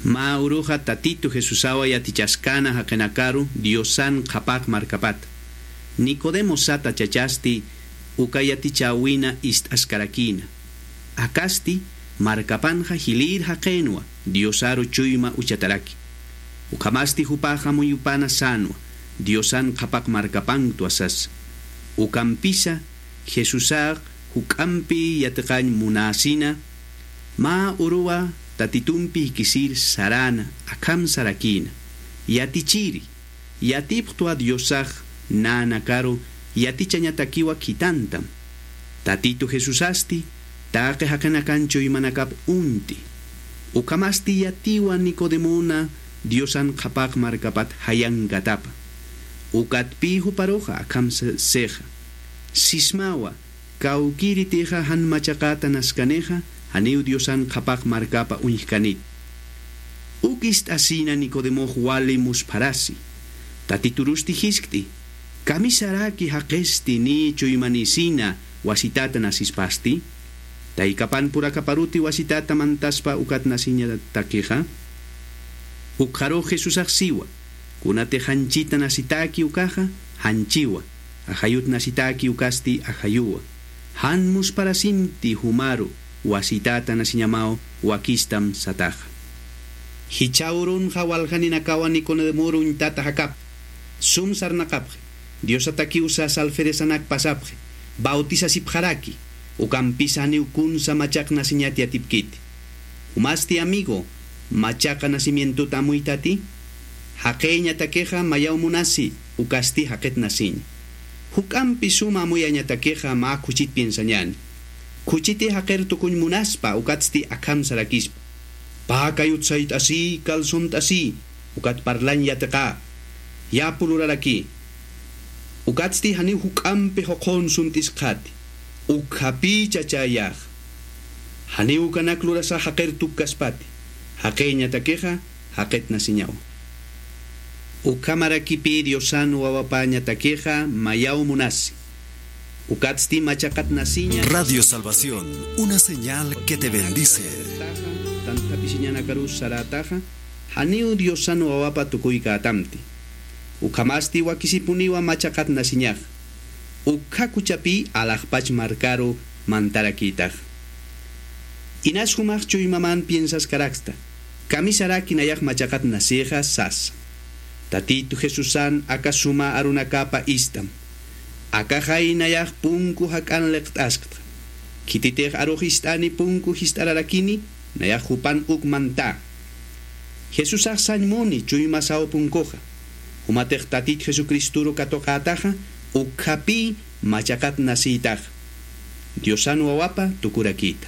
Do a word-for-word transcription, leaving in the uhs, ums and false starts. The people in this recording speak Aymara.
Mä uruxa Tatitu Jesusawa yatichaskäna jaqinakaru Diosan qhapaq markapata. Nicodemo sata chachasti uka yatichäwina ist'askarakïna. Akasti markapanxa jilïr jaqinwa Diosaru chuyma uchataraki. Ukhamasti jupax amuyupana sänwa Diosan qhapaq markapankta sasa. Ukampisa Jesusax juk'ampi yatiqañ munäsina, mä uruwa Tatitumpi jikisir saräna, akham sarakïna: Yatichiri, yatipxtwa Diosax nänakaru yatichañatakiwa khitantam. Tatitu Jesusasti taqi jaqinakan chuymanakap uñti. Ukhamasti yatiwa Nicodemona Diosan qhapaq markapat jayankatapa. Ukatpï juparuxa akham se-, sixa: Sismawa, kawkïritixa jan machaqäta naskanixa, janiw Diosan qhapaq markapa uñjkanit. Uk ist'asina Nicodemox wali muspharasi. Tatiturusti jiskt'i: Kamisaraki jaqisti niy chuymanïsina wasitäta nasispasti? Taykapan purakaparuti wasitäta mantaspa ukat nasiñatakixa? Ukxarux Jesusax siwa: Kunatix janchita nasitäki ukaxa, janchiwa. Ajayut nasitäki ukasti ajayuwa. Jan muspharasimti jumaru wasitäta nasiñamaw wakistam sataxa. Jichha urunxa waljaninakawa Nicodemoru uñtata jakapxi, sum sarnaqapxi, Diosatakiw sasa alferezanak pasapxi, bautisasipxaraki, ukampisa janiw kunsa machaq nasiñat yatipkiti. Jumasti amigo, machaqa nacimientota amuytati? Jaqiñatakixa mayaw munasi, ukasti jaqit nasiña. Juk'ampi suma amuyañatakixa mä khuchit piensañäni. Khuchiti jaqir tukuñ munaspa, ukatsti akham sarakispa: Pä kayut sayt'asï, calzont'asï, ukat parlañ yatiqä, yapu luraraki. Ukatsti janiw juk'ampi juqhun sunt'iskxati. Ukhapï chachäyaxa. Janiw ukanak lurasa jaqir tukkaspati. Jaqiñatakixa jaqit nasiñawa. Ukhamarakipï Diosan wawapañatakixa mayaw munasi. Ukatsti machaqat nasiña. Radio Salvación, una señal que te bendice. Tantapisiñanakarus sarätaxa, janiw Diosan wawapa tukuykätamti. Ukhamasti wakisipuniwa machaqat nasiñaxa. Ukkha khuchhapï alaxpach markaru mantarakïtaxa. Inas jumax chuymaman piensaskarakta, kamisaraki nayax machaqat nasixa sasa. Tatitu Jesusan aka suma arunakapa ist'am. Akaxay nayax punku jak'an liqt'asktxa. Khititix arux ist'ani punku jist'ararakini, nayax jupan uk mantá. Jesusax sañ muni chuymasaw punkuxa. Jumatix Tatit Jesucristoru katuqätaxa, ukkhapï machaqat nasïtaxa. Diosan wawapa tukurakïta.